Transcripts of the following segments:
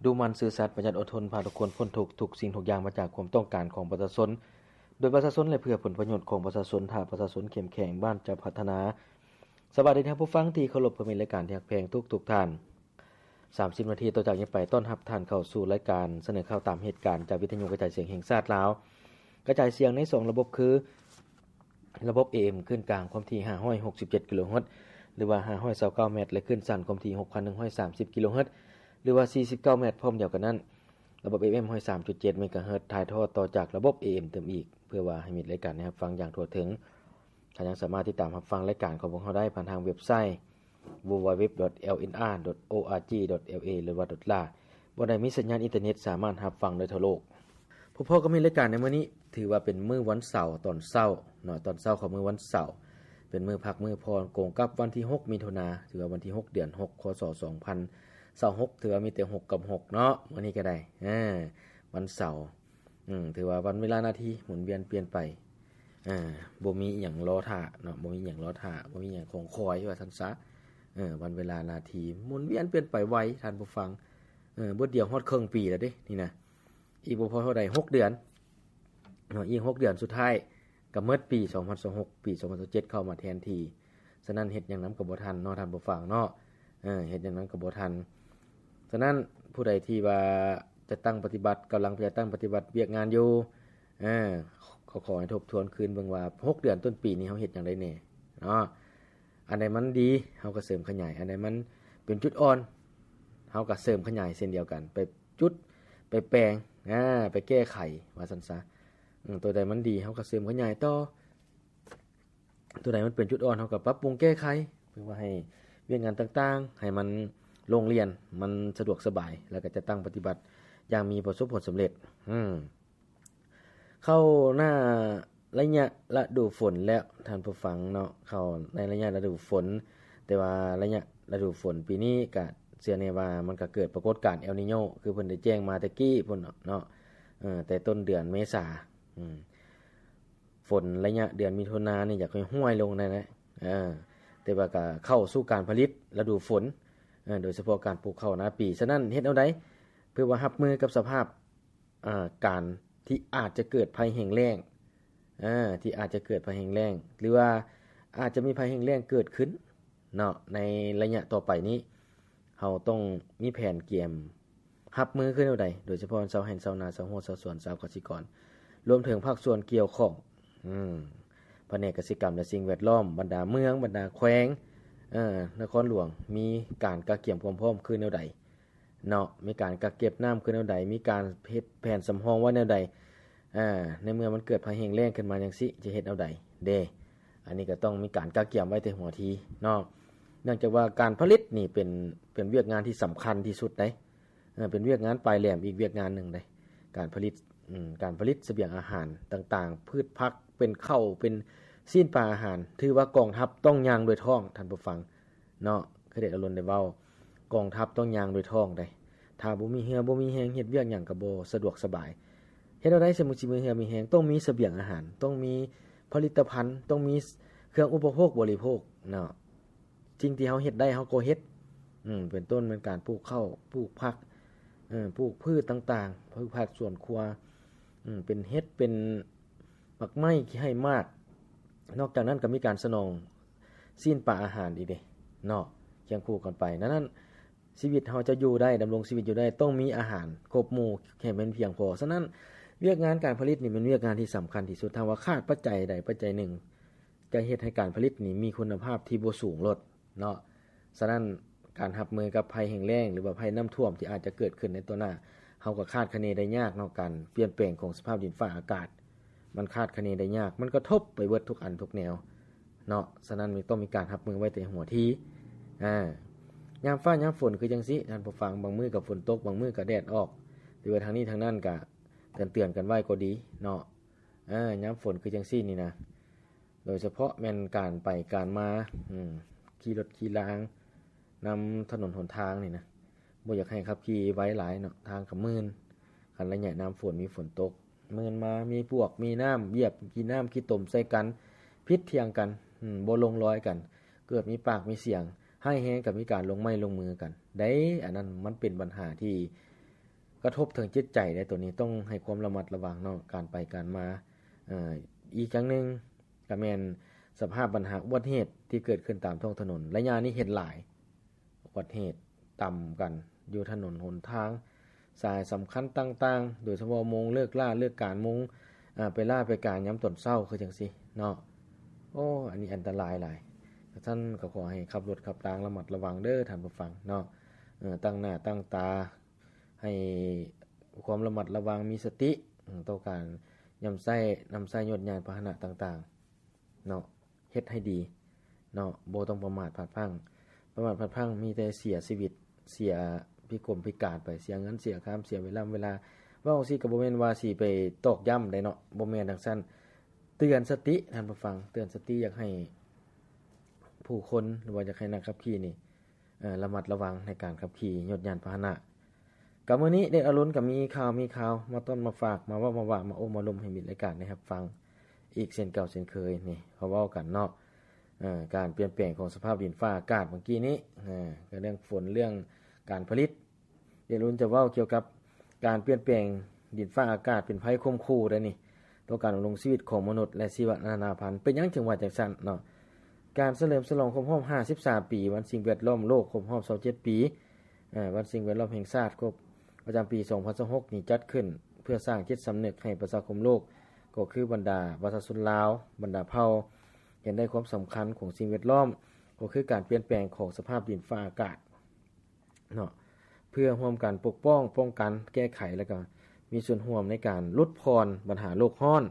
ດຸໝັ່ນ, ຊື່ສັດ, ປະຢັດ, ອົດທົນ, ພາທຸກຄົນພົ້ນທຸກ, ທຸກສິ່ງທຸກຢ່າງມາຈາກຄວາມຕ້ອງການຂອງປະຊາຊົນ, ໂດຍປະຊາຊົນ ແລະ ເພື່ອຜົນປະໂຫຍດຂອງປະຊາຊົນ. ຖ້າປະຊາຊົນເຂັ້ມແຂງ, ບ້ານຈະພັດທະນາ. ສະບາຍດີທ່ານຜູ້ຟັງທີ່ເຄົາລົບ, ເພື່ອມິດ, ລາຍການທີ່ຮັກແພງທຸກໆທ່ານ. ສາມສິບນາທີຕໍ່ຈາກນີ້ໄປ ຕ້ອນຮັບທ່ານເຂົ້າສູ່ລາຍການສະເໜີຂ່າວຕາມເຫດການ ຈາກວິທະຍຸກະຈາຍສຽງແຫ່ງຊາດລາວ, ກະຈາຍສຽງໃນສອງລະບົບຄື ລະບົບ ເອເອັມ ຄື້ນກາງຄວາມຖີ່ຫ້າຮ້ອຍຫົກສິບເຈັດກິໂລເຮີດ ຫຼືວ່າຫ້າຮ້ອຍຊາວເກົ້າແມັດ ແລະ ຄື້ນສັ້ນຄວາມຖີ່ຫົກພັນໜຶ່ງຮ້ອຍສາມສິບກິໂລເຮີດ ຫຼືວ່າສີ່ສິບເກົ້າແມັດ. ພ້ອມດຽວກັນນັ້ນ, ລະບົບ ເອເອັມ ຮ້ອຍສາມຈຸດເຈັດເມກາເຮີດ ຖ່າຍທອດຕໍ່ຈາກລະບົບ ເອເອັມ ຕື່ມອີກ, ເພື່ອວ່າໃຫ້ມິດລາຍການໄດ້ຮັບຟັງຢ່າງທົ່ວເຖິງ. ທ່ານຍັງສາມາດຕິດຕາມຮັບຟັງລາຍການຂອງພວກເຮົາໄດ້ຜ່ານທາງເວັບໄຊ www.lnr.org.la ບໍ່ໄດ້ມີສັນຍານອິນເຕີເນັດ ສາມາດຮັບຟັງໄດ້ທົ່ວໂລກ. ພົບພໍ້ກັບມິດລາຍການໃນມື້ນີ້ ຖືວ່າເປັນມື້ວັນເສົາຕອນເຊົ້າເນາະ, ຕອນເຊົ້າຂອງມື້ວັນເສົາ ເປັນມື້ພັກມື້ຜ່ອນ ກົງກັບວັນທີຫົກມິຖຸນາ, ຖືວ່າວັນທີຫົກ ເດືອນຫົກ ຄ.ສ. ສອງພັນຊາວຫົກ ຖືວ່າມີແຕ່ຫົກກັບຫົກເນາະ, ມື້ນີ້ກໍໄດ້ ເອີ ວັນເສົາ. ອືມ ຖືວ່າວັນເວລານາທີໝູນວຽນປ່ຽນໄປ, ອ່າ ບໍ່ມີອີ່ຫຍັງລໍຖ້າເນາະ, ບໍ່ມີອີ່ຫຍັງລໍຖ້າ, ບໍ່ມີອີ່ຫຍັງຄອງຄອຍ ວ່າຊັ້ນຊະ. ເອີ ວັນເວລານາທີໝູນວຽນປ່ຽນໄປໄວທ່ານຜູ້ຟັງ, ເອີ ບດດຽວຮອດເຄິ່ງປີແລ້ວເດ້ນີ້ນະ, ອີກບໍ່ພໍເທົ່າໃດ ຫົກເດືອນເນາະ, ອີກຫົກເດືອນສຸດທ້າຍກໍໝົດປີສອງພັນຊາວຫົກ, ປີສອງພັນຊາວເຈັດເຂົ້າມາແທນທີ່. ສະນັ້ນເຮັດຫຍັງນຳກໍບໍ່ທັນເນາະທ່ານຜູ້ຟັງເນາະ, ເອີ ເຮັດຫຍັງນຳກໍບໍ່ທັນ. ສະນັ້ນຜູ້ໃດທີ່ວ່າຈັດຕັ້ງປະຕິບັດ, ກຳລັງຈັດຕັ້ງປະຕິບັດວຽກງານຢູ່, ເອີ ກໍຂໍໃຫ້ທົບທວນຄືນເບິ່ງວ່າ ຫົກເດືອນຕົ້ນປີນີ້ເຮົາເຮັດຫຍັງໄດ້ແດ່ເນາະ. ອັນໃດມັນດີ ເຮົາກໍເສີມຂະຫຍາຍ, ອັນໃດມັນເປັນຈຸດອ່ອນ ເຮົາກໍເສີມຂະຫຍາຍເຊັ່ນດຽວກັນ, ໄປຈຸດ ໄປແປງ ອາ ໄປແກ້ໄຂ ວ່າຊັ້ນຊະ. ອືມ ຕົວໃດມັນດີ ເຮົາກໍເສີມຂະຫຍາຍຕໍ່, ຕົວໃດມັນເປັນຈຸດອ່ອນ ເຮົາກໍປັບປຸງແກ້ໄຂ ເພື່ອວ່າໃຫ້ວຽກງານຕ່າງໆ ໃຫ້ມັນໂລ່ງລ່ຽນ, ມັນສະດວກສະບາຍ ແລ້ວກໍຈັດຕັ້ງປະຕິບັດຢ່າງມີປະສົບຜົນສຳເລັດ. ອືມ ເຂົ້າໜ້າໄລຍະລະດູຝົນແລ້ວທ່ານຜູ້ຟັງເນາະ, ເຂົ້າໃນໄລຍະລະດູຝົນ, ແຕ່ວ່າໄລຍະລະດູຝົນປີນີ້ກະເຊື່ອແນ່ວ່າມັນກະເກີດປາກົດການເອລນີໂຍ ຄືເພິ່ນໄດ້ແຈ້ງມາແຕ່ກີ້ພຸ້ນເນາະ, ເອີ ແຕ່ຕົ້ນເດືອນເມສາ. ອືມ ຝົນໄລຍະເດືອນມິຖຸນານີ້ຢາກຫ້ວຍໆລົງແດ່ນະ, ເອີ ແຕ່ວ່າກະເຂົ້າສູ່ການຜະລິດລະດູຝົນ, ເອີ ໂດຍສະເພາະການປູກເຂົ້ານາປີ. ສະນັ້ນເຮັດແນວໃດເພື່ອວ່າຮັບມືກັບສະພາບ ອ່າ ການທີ່ອາດຈະເກີດໄພແຫ້ງແລ້ງ, ອ່າ ທີ່ອາດຈະເກີດໄພແຫ້ງແລ້ງ ຫຼືວ່າອາດຈະມີໄພແຫ້ງແລ້ງເກີດຂຶ້ນເນາະ ໃນໄລຍະຕໍ່ໄປນີ້, ເຮົາຕ້ອງມີແຜນກຽມຮັບມືຄືແນວໃດ, ໂດຍສະເພາະຊາວໄຮ່ຊາວນາ, ຊາວຮົ້ວຊາວສວນ, ຊາວກະສິກອນ, ລວມເຖິງພາກສ່ວນກ່ຽວຂ້ອງ, ອືມ ພະແນກກະສິກຳ ແລະ ສິ່ງແວດລ້ອມ, ບັນດາເມືອງ, ບັນດາແຂວງ, ເອີ ນະຄອນຫຼວງ ມີການກະກຽມຄວາມພ້ອມຄືແນວໃດ ເນາະ, ມີການກັກເກັບນ້ຳຄືແນວໃດ, ມີການເຮັດແຜນສຳຮອງໄວ້ແນວໃດ, ອາ ໃນເມື່ອມັນເກີດໄພແຫ້ງແລ້ງຂຶ້ນມາຈັ່ງຊີ້ ຈະເຮັດແນວໃດເດ. ອັນນີ້ກໍຕ້ອງມີການກະກຽມໄວ້ແຕ່ຫົວທີເນາະ, ເນື່ອງຈາກວ່າການຜະລິດນີ້ເປັນ ເປັນວຽກງານທີ່ສຳຄັນທີ່ສຸດໃດ, ເອີ ເປັນວຽກງານປາຍແຫຼມອີກວຽກງານໜຶ່ງໃດ, ການຜະລິດ ອືມ ການຜະລິດສະບຽງອາຫານຕ່າງໆ, ພືດຜັກ, ເປັນເຂົ້າ, ເປັນຊີ້ນປາອາຫານ, ຖືວ່າກອງທັບຕ້ອງຍ່າງດ້ວຍທ້ອງ, ທ່ານຜູ້ຟັງ. ເນາະ, ຄືໄດ້ອາລົນໄດ້ເວົ້າ, ກອງທັບຕ້ອງຍ່າງດ້ວຍທ້ອງໃດ໋. ຖ້າບໍ່ມີເຫື່ອບໍ່ມີແຮງ, ເຮັດວຽກຫຍັງກໍບໍ່ສະດວກສະບາຍ. ເຮັດແນວໃດ ສະໝຸດຊິມີເຫື່ອມີແຮງ? ຕ້ອງມີສະບຽງອາຫານ, ຕ້ອງມີຜະລິດຕະພັນ, ຕ້ອງມີເຄື່ອງອຸປະໂພກບໍລິໂພກເນາະ. ສິ່ງທີ່ເຮົາເຮັດໄດ້ ເຮົາກໍເຮັດ, ເປັນຕົ້ນແມ່ນການປູກເຂົ້າ, ປູກຜັກ, ເອີ, ປູກພືດຕ່າງໆ, ພືດຜັກສວນຄົວ, ເປັນເຫັດ, ເປັນໝາກໄມ້, ຂີ້ໄຮ່ໝາກ. ນອກຈາກນັ້ນກໍມີການສະໜອງ ຊີ້ນປາອາຫານອີກເດ້ເນາະ, ຄຽງຄູ່ກັນໄປ. ນັ້ນ ຊີວິດເຮົາຈະຢູ່ໄດ້, ດຳລົງຊີວິດຢູ່ໄດ້, ຕ້ອງມີອາຫານຄົບໝູ່ໃຫ້ມັນພຽງພໍ. ສະນັ້ນ ວຽກງານການຜະລິດນີ້ແມ່ນວຽກງານທີ່ສຳຄັນທີ່ສຸດ. ຖ້າວ່າຂາດປັດໄຈໃດປັດໄຈໜຶ່ງ, ຈະເຮັດໃຫ້ການຜະລິດນີ້ມີຄຸນນະພາບທີ່ບໍ່ສູງໂລດເນາະ. ສະນັ້ນ ການຮັບມືກັບໄພແຫ້ງແລ້ງ ຫຼືວ່າໄພນ້ຳຖ້ວມທີ່ອາດຈະເກີດຂຶ້ນໃນຕໍ່ໜ້າ, ເຮົາກໍຄາດຄະເນໄດ້ຍາກເນາະ. ການປ່ຽນແປງຂອງສະພາບດິນຟ້າອາກາດ ມັນຄາດຄະເນໄດ້ຍາກ, ມັນກະທົບໄປເບິດທຸກອັນທຸກແນວເນາະ. ສະນັ້ນ ຕ້ອງມີການຮັບມືໄວ້ແຕ່ຫົວທີ. ອາ ຍາມຟ້າຍາມຝົນຄືຈັ່ງຊີ້ ທ່ານຜູ້ຟັງ, ບາງມື້ກໍຝົນຕົກ, ບາງມື້ກໍແດດອອກ, ແຕ່ວ່າທາງນີ້ທາງນັ້ນກະເຕືອນໆກັນໄວ້ກໍດີເນາະ. ອາ ຍາມຝົນຄືຈັ່ງຊີ້ນີ້ນະ, ໂດຍສະເພາະແມ່ນການໄປການມາ, ອືມ, ຂີ່ລົດຂີ່ລາງນຳຖະໜົນຫົນທາງນີ້ນະ, ບໍ່ຢາກໃຫ້ຂັບຂີ່ໄວຫຼາຍເນາະ, ທາງກໍມື່ນ. ຄັນໄລຍະຍາມຝົນມີຝົນຕົກ, ມື່ນມາ, ມີປວກ, ມີນ້ຳ, ຢຽບຂີ້ນ້ຳຂີ້ຕົມໃສ່ກັນ, ຜິດຖຽງກັນ, ອືມ, ບໍ່ລົງລອຍກັນ, ເກີດມີປາກມີສຽງ, ຮ້າຍແຮງກໍມີການລົງໄມ້ລົງມືກັນ. ໄດ້, ອັນນັ້ນມັນເປັນບັນຫາທີ່ ກະທົບເຖິງຈິດໃຈເດ້ ໂຕນີ້ຕ້ອງໃຫ້ຄວາມລະມັດລະວັງເນາະ ການໄປການມາ. ເອີ ອີກຢ່າງໜຶ່ງກະແມ່ນສະພາບບັນຫາອຸບັດເຫດທີ່ເກີດຂຶ້ນຕາມທ້ອງຖະໜົນ ໄລຍະນີ້ເຫັນຫຼາຍ ອຸບັດເຫດຕຳກັນຢູ່ຖະໜົນຫົນທາງ ສາຍສຳຄັນຕ່າງໆ ໂດຍສະເພາະໂມງເລີກລາເລີກການ ໂມງ ອາ ໄປລາໄປການຍາມຕອນເຊົ້າຄືຈັ່ງຊີ້ເນາະ. ໂອ້ ອັນນີ້ອັນຕະລາຍຫຼາຍ. ຊັ້ນກໍຂໍໃຫ້ຂັບລົດຂັບລາງລະມັດລະວັງເດີທ່ານຜູ້ຟັງເນາະ. ເອີ ຕັ້ງໜ້າຕັ້ງຕາ ໃຫ້ຄວາມລະມັດລະວັງ ມີສະຕິ ເອີ ຕໍ່ການນຳໃຊ້ ນຳໃຊ້ໂຍດຍານພາຫະນະຕ່າງໆເນາະ ເຮັດໃຫ້ດີເນາະ ບໍ່ຕ້ອງປະໝາດພາດພລັ້ງ. ປະໝາດພາດພລັ້ງມີແຕ່ເສຍຊີວິດ ເສຍພິກົມພິການໄປ ເສຍເງິນເສຍຄຳ ເສຍເວລາເວລາ. ເວົ້າຈັ່ງຊີ້ກໍບໍ່ແມ່ນວ່າຊິໄປຕອກຢ້ຳໃດເນາະ ບໍ່ແມ່ນຈັ່ງຊັ້ນ. ເຕືອນສະຕິທ່ານຜູ້ຟັງ ເຕືອນສະຕິ ຢາກໃຫ້ຜູ້ຄົນ ຫຼືວ່າຢາກໃຫ້ນັກຂັບຂີ່ນີ້ ເອີ ລະມັດລະວັງໃນການຂັບຂີ່ໂຍດຍານພາຫະນະ. ກໍມື້ນີ້ເດັກອາລຸນກໍມີຂ່າວ ມີຂ່າວມາຕ້ອນມາຝາກ ມາເວົ້າມາວ່າ ມາໂອ້ມາລົມໃຫ້ມິດລາຍການໄດ້ຮັບຟັງອີກເຊັ່ນເກົ່າເຊັ່ນເຄີຍ. ນີ້ເຮົາເວົ້າກັນເນາະ ເອີ ການປ່ຽນແປງຂອງສະພາບດິນຟ້າອາກາດເມື່ອກີ້ນີ້ ເອີ ກໍເລື່ອງຝົນ ເລື່ອງການຜະລິດ. ເດລຸນຈະເວົ້າກ່ຽວກັບການປ່ຽນແປງດິນຟ້າອາກາດເປັນໄພຂົ່ມຂູ່ໄດ໋ນີ້ ຕໍ່ການດຳລົງຊີວິດຂອງມະນຸດ ແລະ ຊີວະນານາພັນ. ເປັນຫຍັງຈຶ່ງວ່າຈັ່ງຊັ້ນເນາະ? ການສະເຫຼີມສະຫຼອງຄົບຮອບຫ້າສິບສາມປີ ວັນສິ່ງແວດລ້ອມໂລກ ຄົບຮອບຊາວເຈັດປີ ເອີ ວັນສິ່ງແວດລ້ອມແຫ່ງຊາດ ຄົບປະຈຳປີສອງພັນຊາວຫົກນີ້ ຈັດຂຶ້ນເພື່ອສ້າງຈິດສຳນຶກໃຫ້ປະຊາຄົມໂລກ ກໍຄືບັນດາປະຊາຊົນລາວ ບັນດາເຜົ່າ ເຫັນໄດ້ຄວາມສຳຄັນຂອງສິ່ງແວດລ້ອມ ກໍຄືການປ່ຽນແປງຂອງສະພາບດິນຟ້າອາກາດ ເນາະ ເພື່ອຮ່ວມກັນປົກປ້ອງ, ປ້ອງກັນ, ແກ້ໄຂ ແລະ ກໍມີສ່ວນຮ່ວມໃນການຫຼຸດຜ່ອນບັນຫາໂລກຮ້ອນ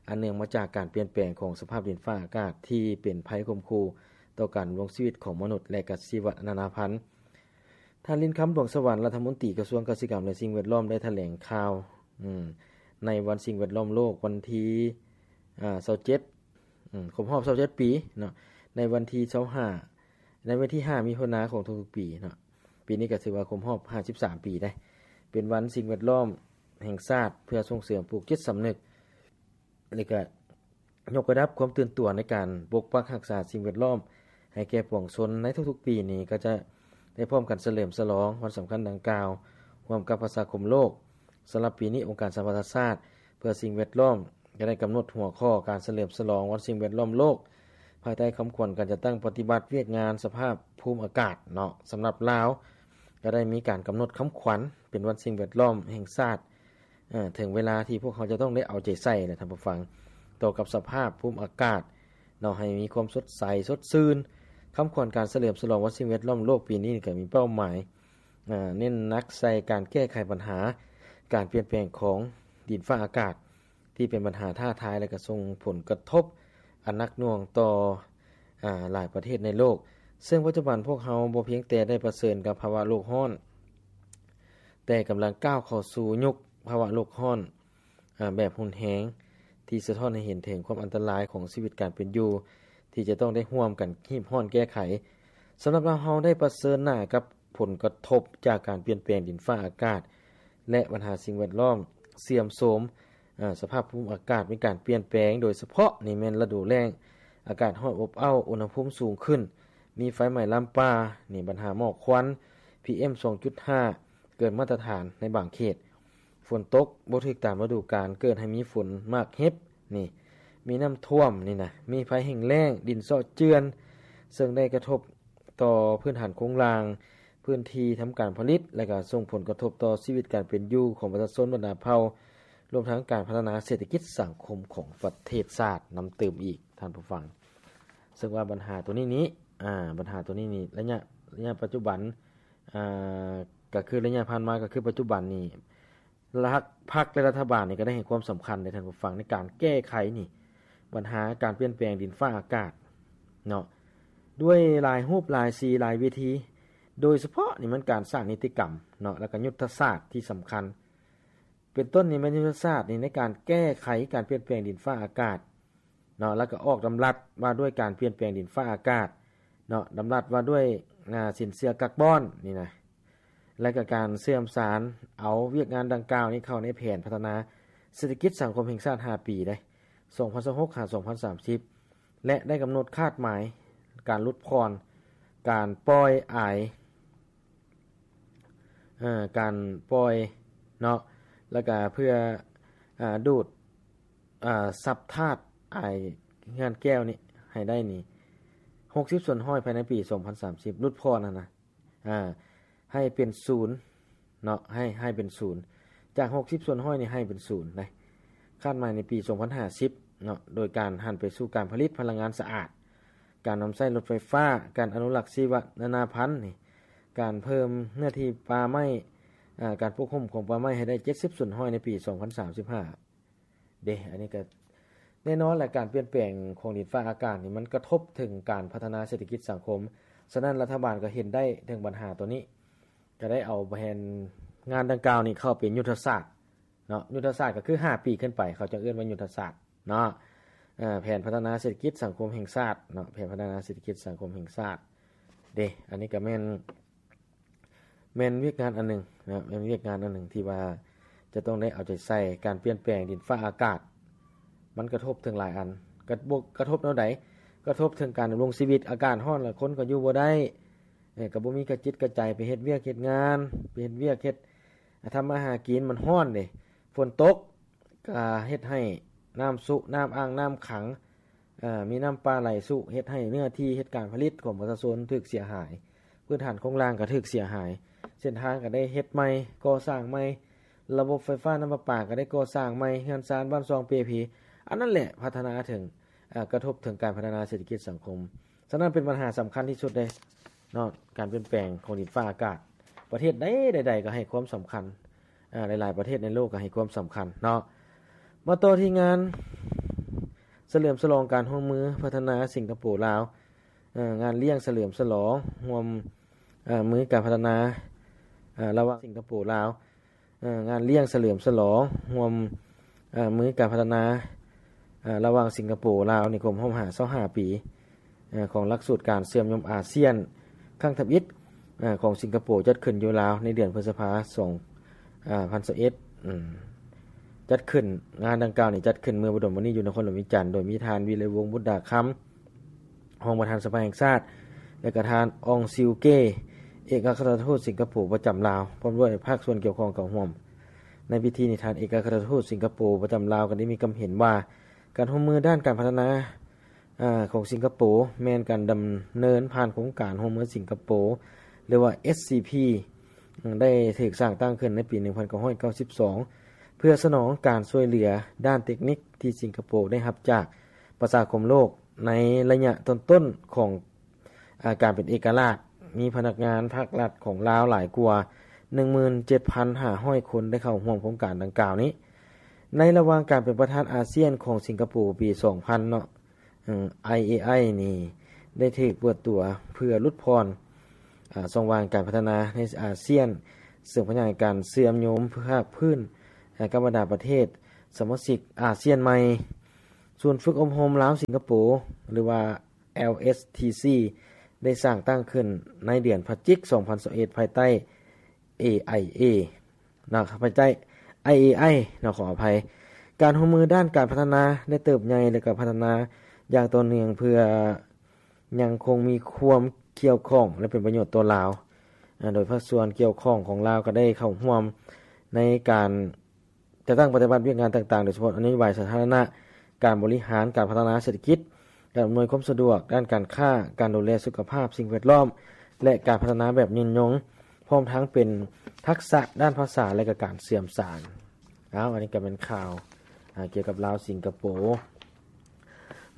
ອັນເນື່ອງມາຈາກການປ່ຽນແປງຂອງສະພາບດິນຟ້າອາກາດ ທີ່ເປັນໄພຂົ່ມຂູ່ຕໍ່ການດຳລົງຊີວິດຂອງມະນຸດ ແລະ ກະຊີວະນານາພັນ. ທ່ານ ລິນຄຳ ດວງສະຫວັນ ລັດຖະມົນຕີກະຊວງກະສິກຳ ແລະ ສິ່ງແວດລ້ອມ ໄດ້ຖະແຫຼງຂ່າວ ອືມ ໃນວັນສິ່ງແວດລ້ອມໂລກ ວັນທີ ອາ ຊາວເຈັດ ອືມ ຄົບຮອບຊາວເຈັດປີເນາະ ໃນວັນທີຊາວຫ້າ ໃນວັນທີຫ້າ ມິຖຸນາຂອງທຸກໆປີເນາະ. ປີນີ້ກໍຖືວ່າຄົບຮອບຫ້າສິບສາມປີໄດ໋ ເປັນວັນສິ່ງແວດລ້ອມແຫ່ງຊາດ ເພື່ອສົ່ງເສີມປູກຈິດສຳນຶກ ແລະ ກະຍົກລະດັບຄວາມຕື່ນຕົວໃນການປົກປັກຮັກສາສິ່ງແວດລ້ອມໃຫ້ແກ່ປວງຊົນ. ໃນທຸກໆປີນີ້ ກໍຈະໄດ້ພ້ອມກັນສະເຫຼີມສະຫຼອງວັນສຳຄັນດັ່ງກ່າວ ຮ່ວມກັບປະຊາຄົມໂລກ. ສຳລັບປີນີ້ ອົງການສະຫະປະຊາຊາດເພື່ອສິ່ງແວດລ້ອມ ກໍໄດ້ກຳນົດຫົວຂໍ້ການສະເຫຼີມສະຫຼອງວັນສິ່ງແວດລ້ອມໂລກ ພາຍໃຕ້ຄຳຂວັນການຈັດຕັ້ງປະຕິບັດວຽກງານສະພາບພູມອາກາດເນາະ. ສຳລັບລາວ ກໍໄດ້ມີການກຳນົດຄຳຂວັນເປັນວັນສິ່ງແວດລ້ອມແຫ່ງຊາດ ເອີ ເຖິງເວລາທີ່ພວກເຮົາຈະຕ້ອງໄດ້ເອົາໃຈໃສ່ແຫຼະທ່ານຜູ້ຟັງ ຕໍ່ກັບສະພາບພູມອາກາດເນາະ ໃຫ້ມີຄວາມສົດໃສສົດຊື່ນ. ຄຳຂວັນການສະເຫຼີມສະຫຼອງວັນສິ່ງແວດລ້ອມໂລກປີນີ້ ກໍມີເປົ້າໝາຍ ເນັ້ນໜັກໃສ່ການແກ້ໄຂບັນຫາການປ່ຽນແປງຂອງດິນຟ້າອາກາດ ທີ່ເປັນບັນຫາທ້າທາຍ ແລະ ກະສົ່ງຜົນກະທົບອັນໜັກໜ່ວງຕໍ່ ອາ ຫຼາຍປະເທດໃນໂລກ. ເຊິ່ງປັດຈຸບັນພວກເຮົາບໍ່ພຽງແຕ່ໄດ້ປະເຊີນກັບພາວະໂລກຮ້ອນ, ແຕ່ກຳລັງກ້າວເຂົ້າສູ່ຍຸກພາວະໂລກຮ້ອນ ອາ ແບບຮຸນແຮງ ທີ່ສະທ້ອນໃຫ້ເຫັນເຖິງຄວາມອັນຕະລາຍຂອງຊີວິດການເປັນຢູ່ ທີ່ຈະຕ້ອງໄດ້ຮ່ວມກັນຮີບຮ້ອນແກ້ໄຂ. ສຳລັບລາວເຮົາໄດ້ປະເຊີນໜ້າກັບ ຜົນກະທົບຈາກການປ່ຽນແປງດິນຟ້າອາກາດ ແລະ ບັນຫາສິ່ງແວດລ້ອມເສື່ອມໂຊມ, ສະພາບພູມອາກາດມີການປ່ຽນແປງ, ໂດຍສະເພາະນີ້ແມ່ນລະດູແລ້ງ, ອາກາດຮ້ອນອົບອ້າວ, ອຸນຫະພູມສູງຂຶ້ນ, ມີໄຟໄໝ້ລາມປ່າ, ນີ້ບັນຫາໝອກຄວັນ, ພີເອັມ ສອງຈຸດຫ້າ ເກີນມາດຕະຖານໃນບາງເຂດ, ຝົນຕົກບໍ່ຖືກຕາມລະດູການ, ເກີດໃຫ້ມີຝົນໝາກເຫັບ, ນີ້ມີນ້ຳຖ້ວມ, ນີ້ນະ, ມີໄພແຫ້ງແລ້ງ, ດິນເຊາະເຈື່ອນ, ເຊິ່ງໄດ້ກະທົບ ຕໍ່ພື້ນຖານໂຄງລ່າງ, ພື້ນທີ່ທຳການຜະລິດ ແລະ ກະສົ່ງຜົນກະທົບຕໍ່ຊີວິດການເປັນຢູ່ຂອງປະຊາຊົນບັນດາເຜົ່າ, ລວມທັງການພັດທະນາເສດຖະກິດສັງຄົມຂອງປະເທດຊາດນຳຕື່ມອີກ, ທ່ານຜູ້ຟັງ. ເຊິ່ງວ່າບັນຫາໂຕນີ້ນີ້, ອາ, ບັນຫາໂຕນີ້ນີ້, ໄລຍະ, ໄລຍະປັດຈຸບັນ, ອາ, ກະຄືໄລຍະຜ່ານມາ, ກະຄືປັດຈຸບັນນີ້, ລັດ ພັກ ແລະ ລັດຖະບານນີ້ກໍໄດ້ໃຫ້ຄວາມສຳຄັນເດ້ທ່ານຜູ້ຟັງ ໃນການແກ້ໄຂນີ້ ບັນຫາການປ່ຽນແປງດິນຟ້າອາກາດເນາະ ດ້ວຍຫຼາຍຮູບ ຫຼາຍສີ ຫຼາຍວິທີ ໂດຍສະເພາະນີ້ແມ່ນການສ້າງນິຕິກຳເນາະ ແລ້ວກໍຍຸດທະສາດທີ່ສຳຄັນ ເປັນຕົ້ນນີ້ແມ່ນຍຸດທະສາດນີ້ໃນການແກ້ໄຂການປ່ຽນແປງດິນຟ້າອາກາດ ເນາະ ແລ້ວກໍອອກດຳລັດວ່າດ້ວຍການປ່ຽນແປງດິນຟ້າອາກາດເນາະ ດຳລັດວ່າດ້ວຍ ອາ ສິນເຊື່ອກາບອນນີ້ນະ ແລະກໍການເຊື່ອມສານເອົາວຽກງານດັ່ງກ່າວນີ້ເຂົ້າໃນແຜນພັດທະນາເສດຖະກິດສັງຄົມແຫ່ງຊາດຫ້າປີເດ້ ສອງພັນຊາວຫົກ ຫາ ສອງພັນສາມສິບ ແລະໄດ້ກຳນົດຄາດໝາຍການຫຼຸດຜ່ອນ ການປ່ອຍອາຍ ເອີ ການປ່ອຍ ເນາະ ແລ້ວກະເພື່ອ ອາ ດູດ ອາ ຊັບທາດອາຍເຮືອນແກ້ວນີ້ໃຫ້ໄດ້ນີ້ ຫົກສິບສ່ວນຮ້ອຍ ພາຍໃນປີສອງພັນສາມສິບ ຫຼຸດຜ່ອນຫັ້ນນະ ອາ ໃຫ້ເປັນສູນເນາະ ໃຫ້ ໃຫ້ເປັນສູນ ຈາກຫົກສິບສ່ວນຮ້ອຍນີ້ໃຫ້ເປັນສູນໄດ໋ ຄາດໝາຍໃນປີສອງພັນຫ້າສິບເນາະ ໂດຍການຫັນໄປສູ່ການຜະລິດພະລັງງານສະອາດ, ການນຳໃຊ້ລົດໄຟຟ້າ, ການອະນຸລັກຊີວະນານາພັນນີ້, ການເພີ່ມເນື້ອທີ່ປ່າໄມ້, ອາ ການປົກຫຸ້ມຂອງປ່າໄມ້ໃຫ້ໄດ້ເຈັດສິບສ່ວນຮ້ອຍໃນປີສອງພັນສາມສິບຫ້າ. ເດ້ ອັນນີ້ກໍແນ່ນອນແຫຼະ ການປ່ຽນແປງຂອງດິນຟ້າອາກາດນີ້ ມັນກະທົບເຖິງການພັດທະນາເສດຖະກິດສັງຄົມ. ສະນັ້ນ ລັດຖະບານກໍເຫັນໄດ້ເຖິງບັນຫາໂຕນີ້ ກໍໄດ້ເອົາແຜນງານດັ່ງກ່າວນີ້ເຂົ້າເປັນຍຸດທະສາດເນາະ. ຍຸດທະສາດກໍຄືຫ້າປີຂຶ້ນໄປ ເຂົາຈະເອີ້ນວ່າຍຸດທະສາດເນາະ. ເອີ ແຜນພັດທະນາເສດຖະກິດສັງຄົມແຫ່ງຊາດເນາະ ແຜນພັດທະນາເສດຖະກິດສັງຄົມແຫ່ງຊາດ. ເດ້ ອັນນີ້ກໍແມ່ນ ແມ່ນວຽກງານອັນໜຶ່ງນະ ແມ່ນວຽກງານອັນໜຶ່ງທີ່ວ່າຈະຕ້ອງໄດ້ເອົາໃຈໃສ່. ການປ່ຽນແປງດິນຟ້າອາກາດ ມັນກະທົບເຖິງຫຼາຍອັນ. ກະ ບໍ່ ກະທົບແນວໃດ? ກະທົບເຖິງການດຳລົງຊີວິດ. ອາກາດຮ້ອນລະຄົນກໍຢູ່ບໍ່ໄດ້ ເອີ ກໍບໍ່ມີກະຈິດກະໃຈໄປເຮັດວຽກເຮັດງານ ໄປເຮັດວຽກເຮັດ ອາ ທຳມາຫາກິນ. ມັນຮ້ອນເດ້ ຝົນຕົກ ກະເຮັດໃຫ້ນ້ຳຊຸ ນ້ຳອ່າງນ້ຳຂັງ ເອີ ມີນ້ຳປ່າໄຫຼຊຸ ເຮັດໃຫ້ເນື້ອທີ່ເຮັດການຜະລິດຂອງປະຊາຊົນຖືກເສຍຫາຍ, ພື້ນຖານໂຄງລ່າງກໍຖືກເສຍຫາຍ, ເສັ້ນທາງກໍໄດ້ເຮັດໃໝ່ ກໍ່ສ້າງໃໝ່, ລະບົບໄຟຟ້ານ້ຳປະປາກໍໄດ້ກໍ່ສ້າງໃໝ່, ເຮືອນຊານບ້ານຊ່ອງເປ່ເພ. ອັນນັ້ນແຫຼະພັດທະນາເຖິງ ເອີ ກະທົບເຖິງການພັດທະນາເສດຖະກິດສັງຄົມ. ສະນັ້ນເປັນບັນຫາສຳຄັນທີ່ສຸດເດ້ເນາະ ການປ່ຽນແປງຂອງດິນຟ້າອາກາດ. ປະເທດໃດ ໃດໆກໍໃຫ້ຄວາມສຳຄັນ ອາ ຫຼາຍໆປະເທດໃນໂລກກໍໃຫ້ຄວາມສຳຄັນເນາະ. ມາຕໍ່ທີ່ງານສະເຫຼີມສະຫຼອງການຮ່ວມມືພັດທະນາສິງກະໂປ-ລາວ, ເອີ ງານລ້ຽງສະເຫຼີມສະຫຼອງຮ່ວມ ເອີ ມືການພັດທະນາ ເອີ ລະຫວ່າງສິງກະໂປ-ລາວ, ເອີ ງານລ້ຽງສະເຫຼີມສະຫຼອງຮ່ວມ ເອີ ມືການພັດທະນາ ເອີ ລະຫວ່າງສິງກະໂປ-ລາວ ໃນຄົບຮອບຫ້າສິບຫ້າປີ ເອີ ຂອງຫຼັກສູດການເຊື່ອມໂຍງອາຊຽນຄັ້ງທຳອິດ ເອີ ຂອງສິງກະໂປ ຈັດຂຶ້ນຢູ່ລາວໃນເດືອນພຶດສະພາ ສອງ ເອີ ພັນຊາວເອັດ ອາ ຈັດຂຶ້ນ. ງານດັ່ງກ່າວນີ້ຈັດຂຶ້ນເມື່ອບໍ່ດົນມານີ້ຢູ່ນະຄອນຫຼວງວຽງຈັນ ໂດຍມີທ່ານ ວິໄລວົງ ບຸດດາຄຳ ຮອງປະທານສະພາແຫ່ງຊາດ ແລະ ກະທ່ານ ອອງ ຊິວເກ ເອກອັກຄະລັດທູດສິງກະໂປປະຈຳລາວ ພ້ອມດ້ວຍພາກສ່ວນກ່ຽວຂ້ອງເຂົ້າຮ່ວມ. ໃນພິທີນີ້ ທ່ານເອກອັກຄະລັດທູດສິງກະໂປປະຈຳລາວກໍໄດ້ມີຄຳເຫັນວ່າ ການຮ່ວມມືດ້ານການພັດທະນາ ອາ ຂອງສິງກະໂປ ແມ່ນການດຳເນີນຜ່ານໂຄງການຮ່ວມມືສິງກະໂປ ຫຼືວ່າ ເອສຊີພີ ໄດ້ຖືກສ້າງຕັ້ງຂຶ້ນໃນປີໜຶ່ງພັນເກົ້າຮ້ອຍເກົ້າສິບສອງ ເພື່ອສະໜອງການຊ່ວຍເຫຼືອດ້ານເຕັກນິກທີ່ສິງກະໂປໄດ້ຮັບຈາກປະຊາຄົມໂລກໃນໄລຍະຕົ້ນໆຂອງ ອາ ການເປັນເອກະລາດ. ມີພະນັກງານພາກລັດຂອງລາວຫຼາຍກວ່າໜຶ່ງໝື່ນເຈັດພັນຫ້າຮ້ອຍຄົນໄດ້ເຂົ້າຮ່ວມໂຄງການດັ່ງກ່າວນີ້. ໃນລະຫວ່າງການເປັນປະທານອາຊຽນຂອງສິງກະໂປປີສອງພັນເນາະ ເອີ ໄອເອໄອ ນີ້ໄດ້ຖືກເປີດຕົວເພື່ອຫຼຸດຜ່ອນ ອາ ຊ່ອງວ່າງການພັດທະນາໃນອາຊຽນ ເຊິ່ງຂະຫຍາຍການເຊື່ອມໂຍງພາກພື້ນ ອາ ກັບບັນດາປະເທດສະມາຊິກອາຊຽນໃໝ່. ສູນຝຶກອົບຮົມລາວສິງກະໂປ ຫຼືວ່າ ແອລເອສທີຊີ ໄດ້ສ້າງຕັ້ງຂຶ້ນໃນເດືອນພະຈິກ ສອງພັນຊາວເອັດ ພາຍໃຕ້ ເອໄອເອ ເນາະ ພາຍໃຕ້ ໄອເອໄອ ເນາະ ຂໍອະໄພ. ການຮ່ວມມືດ້ານການພັດທະນາໄດ້ເຕີບໃຫຍ່ ແລະ ກໍພັດທະນາຢ່າງຕໍ່ເນື່ອງ ເພື່ອຍັງຄົງມີຄວາມກ່ຽວຂ້ອງ ແລະ ເປັນປະໂຫຍດຕໍ່ລາວ ອາ ໂດຍພາກສ່ວນກ່ຽວຂ້ອງຂອງລາວກໍໄດ້ເຂົ້າຮ່ວມໃນການ ຈັດຕັ້ງປະຕິບັດວຽກງານຕ່າງໆ ໂດຍສະເພາະນະໂຍບາຍສາທາລະນະ, ການບໍລິຫານ, ການພັດທະນາເສດຖະກິດ, ການອຳນວຍຄວາມສະດວກ, ດ້ານການຄ້າ, ການດູແລສຸຂະພາບ, ສິ່ງແວດລ້ອມ ແລະ ການພັດທະນາແບບຍືນຍົງ, ພ້ອມທັງເປັນທັກສະດ້ານພາສາ ແລະ ກະການເຊື່ອມສານ. ອ້າວ ອັນນີ້ກະແມ່ນຂ່າວ ອາ ກ່ຽວກັບລາວສິງກະໂປ.